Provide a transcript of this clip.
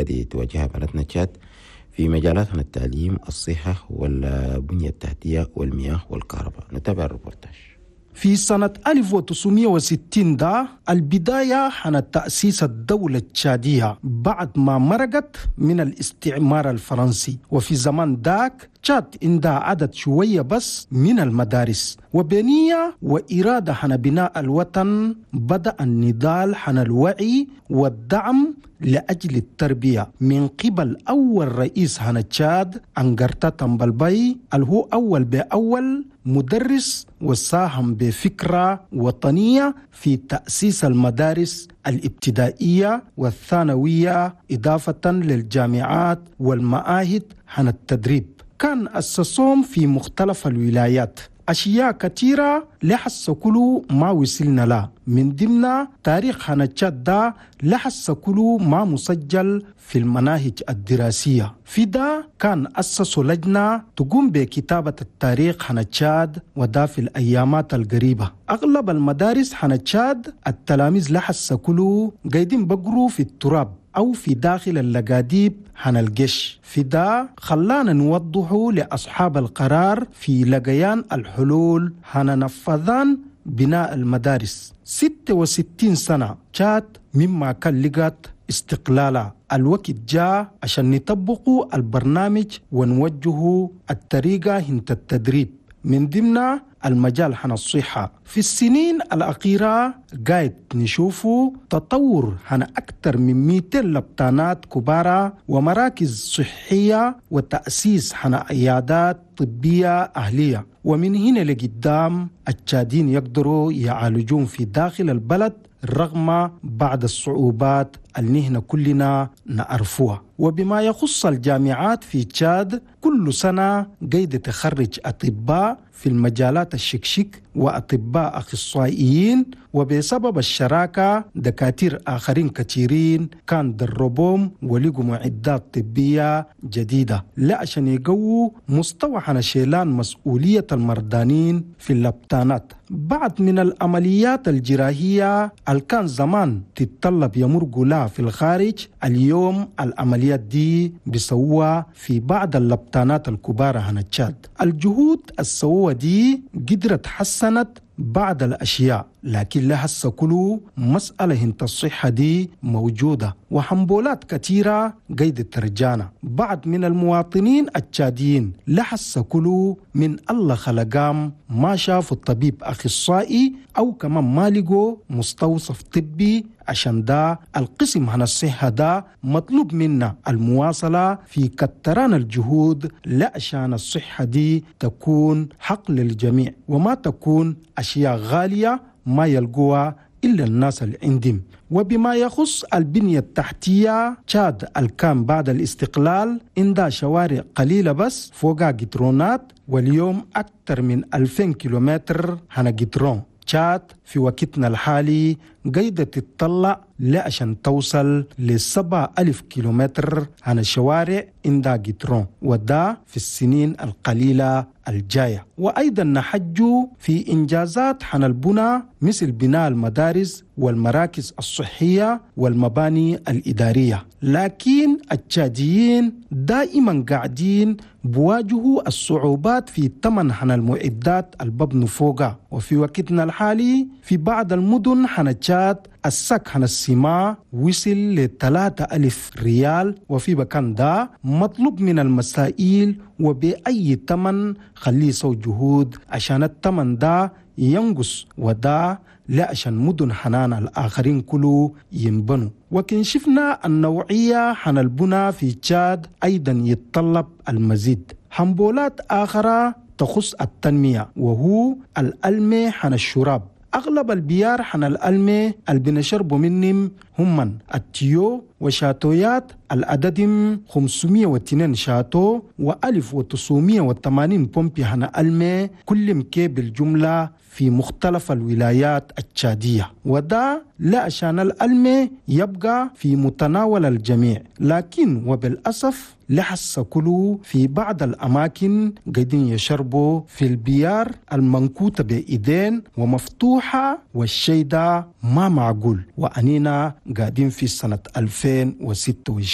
اللي قاعد تواجهها بلدنا تشاد في مجالات التعليم، الصحة، والبنية التحتية والمياه والكهرباء. نتابع الريبورتاج. في سنة 1960 ده البداية حن تأسيس الدولة التشادية بعد ما مرقت من الاستعمار الفرنسي. وفي زمان داك تشاد عندها عدد شوية بس من المدارس، وبنية وإرادة حن بناء الوطن بدأ النضال حن الوعي والدعم لأجل التربية من قبل أول رئيس هنا تشاد أنجرتا تمبلباي، اللي هو أول بأول مدرس وساهم بفكرة وطنية في تأسيس المدارس الابتدائية والثانوية، إضافة للجامعات والمعاهد حن التدريب. كان أسسهم في مختلف الولايات. أشياء كثيرة لحس كله ما وصلنا لا، من ضمن تاريخ هنا تشاد ده لحس كله ما مسجل في المناهج الدراسية. في ده كان أسسوا لجنة تقوم بكتابة التاريخ هنا تشاد، وده في الأيامات القريبة. أغلب المدارس هنا تشاد التلاميذ لحس كله قاعدين بقروا في التراب أو في داخل اللقاديب هنا الجيش. في ده خلانا نوضحه لأصحاب القرار في لقيان الحلول هنا نفذان بناء المدارس. 66 سنة تشاد مما كان لقت استقلالا. الوقت جاء عشان نطبقوا البرنامج ونوجهه الطريقة هنت التدريب، من ضمن المجال حن الصحة. في السنين الأخيرة قاعد نشوفه تطور هنا أكثر من 200 لبطانات كبارة ومراكز صحية وتأسيس هنا عيادات طبية أهلية. ومن هنا لقدام التشادين يقدروا يعالجون في داخل البلد رغم بعض الصعوبات اللي نحن كلنا نعرفوها. وبما يخص الجامعات في تشاد، كل سنة قيد تخرج أطباء في المجالات الشكشك وأطباء أخصائيين، وبسبب الشراكة دكاتير آخرين كثيرين كان دربهم ولقوا معدات طبية جديدة لا عشان يقووا مستوى شيلان مسؤولية المرضانين في اللبطانات. بعض من العمليات الجراحية اللي كان زمان تتطلب يمرقوا لها في الخارج، اليوم العمليات دي بيسووها في بعض اللبطانات الكبار هنا تشاد. الجهود السووة دي قدرت حسنت بعض الأشياء، لكن لها كله مسألة هنت الصحة دي موجودة وحنبولات كثيرة قيد ترجانا. بعض من المواطنين التشاديين لحس كله من الله خلقام ما شافوا الطبيب أخصائي أو كمان ما لقوا مستوصف طبي. عشان ده القسم هنا الصحة ده مطلوب منا المواصلة في كتران الجهود لعشان الصحة دي تكون حق للجميع وما تكون أشياء غالية ما يلقوها إلا الناس اللي عندهم. وبما يخص البنية التحتية، تشاد الكام بعد الاستقلال عندها شوارع قليلة بس فوقها جترونات، واليوم أكثر من 2000 كيلومتر هنا جترون. تشاد في وقتنا الحالي قاعدة تتطلع لعشان توصل ل7000 كيلومتر عن الشوارع عندها جترون، وده في السنين القليلة الجاية. وأيضا نحجوا في إنجازات حن البنى مثل بناء المدارس والمراكز الصحية والمباني الإدارية، لكن التشاديين دائما قاعدين بواجهوا الصعوبات في ثمن حن المعدات الببن فوقها. وفي وقتنا الحالي في بعض المدن حن تشاد السك حن السماء وصل ل3000 ريال، وفي بكان ده مطلوب من المسائل وبأي ثمن خليه يسوي جهود عشان الثمن ده ينقص، وده لا عشان مدن حنان الآخرين كله ينبنوا. وكن شفنا النوعية حن البنى في تشاد أيضا يتطلب المزيد. حنبولات آخرى تخص التنمية وهو الألمي حن الشراب. أغلب البيار حن الألمي اللي بنشربوا منهم هم التيو وشاتويات العددم 502 شاتو و1980 بومبي حن ألمي كل مكي بالجملة في مختلف الولايات التشادية. وده لا عشان الألمي يبقى في متناول الجميع، لكن وبالأسف لحس كله في بعض الأماكن قاعدين يشربوا في البيار المنكوتة بإيدين ومفتوحة، والشيء ده ما معقول، وأنينا قاعدين في سنة 2026.